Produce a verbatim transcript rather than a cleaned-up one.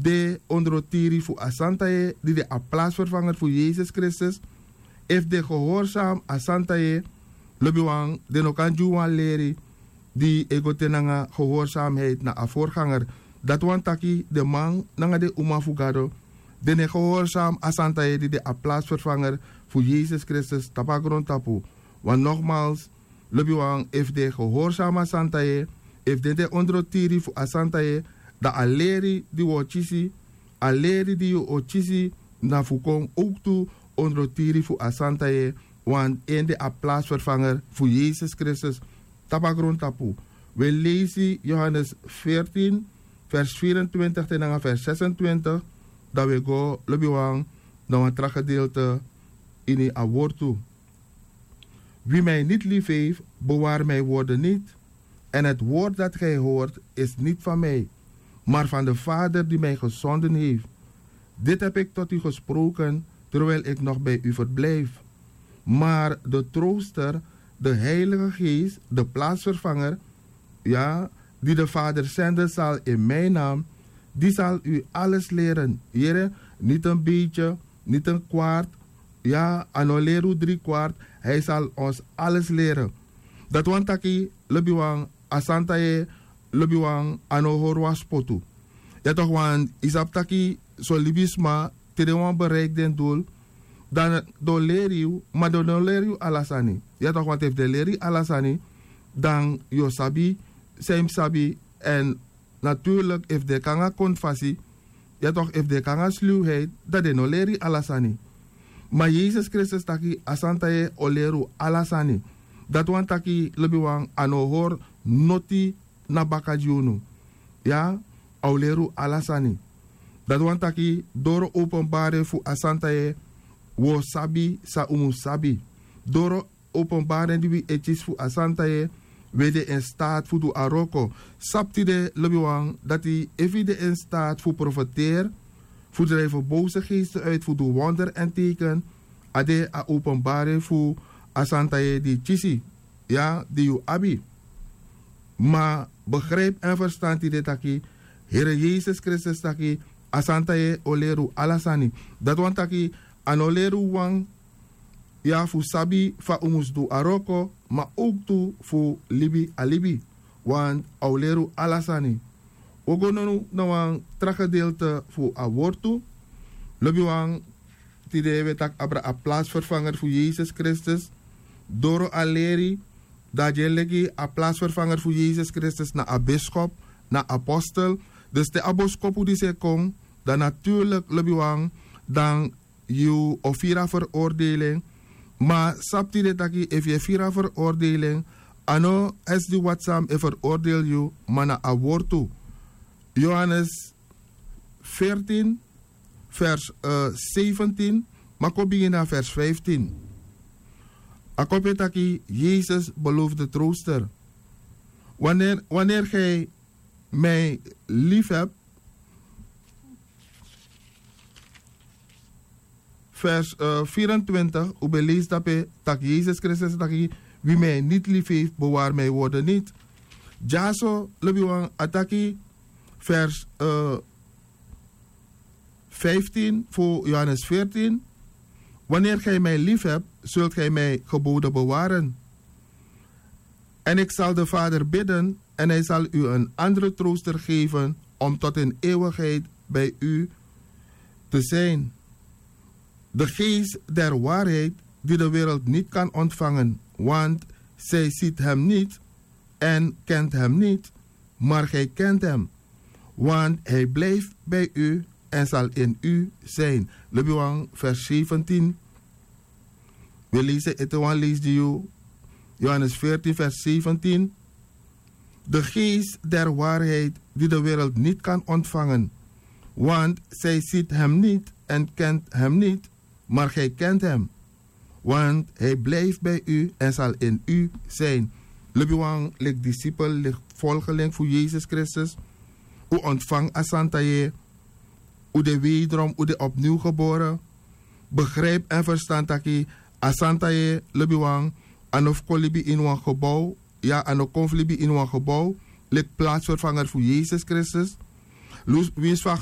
de ondrotiri fu a santa yeye di de a plasferfanger fu yesus kristus, efu den gehorsam a santa yeye, lobiwan, den no kan gi unu wan leri di e go te nanga gehorsamheid na a vorganger. Dati wani taki den man nanga den uma fu gado, den no e gehorsam a santa yeye di de a plasferfanger fu yesus kristus tapu a grontapu. Want nogmaals, lobiwan, efu den e gehorsam a santa yeye, efu den de ondrotiri fu a santa yeye, dan a leri di wi o kisi, a leri di yu o kisi, na fu kon owktu ondrotiri fu a santa yeye, want en de a plasferfanger fu yesus kristus tapu a grontapu. Wi e leisi yohanes veertien, vers vierentwintig te nanga vers zesentwintig. Dan wi e go, lobiwan, na wan tra gedeelte ini a wortu. Wie mij niet lief heeft, bewaart mijn woorden niet. En het woord dat gij hoort, is niet van mij, maar van de Vader die mij gezonden heeft. Dit heb ik tot u gesproken terwijl ik nog bij u verblijf. Maar de trooster, de Heilige Geest, de plaatsvervanger, ja, die de Vader zenden zal in mijn naam, die zal u alles leren. Yere, niet een beetje, niet een kwart, ya, a no leri unu drie kwart, hij zal ons alles leren. Dati wani taki, lobiwan, a santa yeye, lobiwan, a no hori wan spotu. Ya toch, want yu sabi taki son libisma, te den wani bereiki den doel, dan den o leri yu, ma den no leri yu ala sani. Ya toch, want efu den leri yu ala sani, dan yu o sabi san yu mus sabi. En natuurlijk, efu den kon nanga kondfasi, ya toch, efu den kon nanga sluwheid, dan den no leri yu ala sani. Ma yesus kristus taki a santa yeye o leri unu ala sani. Dati wani taki, lobiwan, a no hori noti na baka gi unu. Ya, a o leri unu ala sani. Dati wani taki, doro openbari fu a santa yeye, wi o sabi san un mus sabi. Doro openbari di wi e kisi fu a santa yeye, wi e de in staat fu du a wroko. Sabi tide, lobiwan, dati efu yu de in staat fu profeteri, fu drijven boze geesten uit, fu du wonder en teken, a de a openbari fu a santa yeye di yu kisi, ya, di yu abi. Ma begrijp en ferstan tide taki, Here Yesus Kristus taki, a santa yeye o leri unu ala sani. Dati wani taki, a no leri unu wan ya fu sabi fa un mus du a wroko, ma owktu fu libi a libi. Want a o leri unu ala sani. Wi o go now na wan tra gedeelte fu a wortu. Lobiwan, tide wi e taki abra a plasferfanger fu Yesus Kristus. Doro a leri, dan a gi en leki a plasferfanger fu Yesus Kristus na a biskop, na apostel. Dus te a boskopu disi e kon, dan natuurlijk, lobiwan, dan yu o firi a veroordeling. Ma sabi tide taki efu yu e firi a veroordeling, a no esi di wati san e veroordeel yu, ma na a wortu. Yohanes veertien, vers, eh, zeventien, ma kon bigin na vers vijftien. A kon pe taki Yesus beloof de trooster. Wanneer, wanneer gij mij lief hebt, vers, eh, vierentwintig, un ben lees dape tak Yesus Kristus taki: wie mij niet lief heeft, bewaar mijn woorden niet. Dyaso lobiwan a taki, vers, eh, vijftien fu Johannes veertien: wanneer gij mij lief hebt, zult gij mijn geboden bewaren. En ik zal de Vader bidden, en hij zal u een andere trooster geven om tot in eeuwigheid bij u te zijn. De geest der waarheid, die de wereld niet kan ontvangen, want zij ziet hem niet en kent hem niet, maar gij kent hem, want hij blijft bij u en zal in u zijn. Lobiwan, vers zeventien. We lezen ete wan lees di yu. Johannes veertien, vers zeventien. De geest der waarheid, die de wereld niet kan ontvangen, want zij ziet hem niet en kent hem niet, maar gij kent hem, want hij blijft bij u en zal in u zijn. Lobiwan, lik discipel, lik volgeling fu Yesus Kristus, un ontvang a santa yeye, un de wederom, un de opnieuw geboren. Begrijp en verstan taki a santa yeye, lobiwan, a no fu kon libi ini wan gebouw. Ya, a no kon fu libi ini wan gebouw, lik plaatsvervanger fu Yesus Kristus. Lus, winsi fa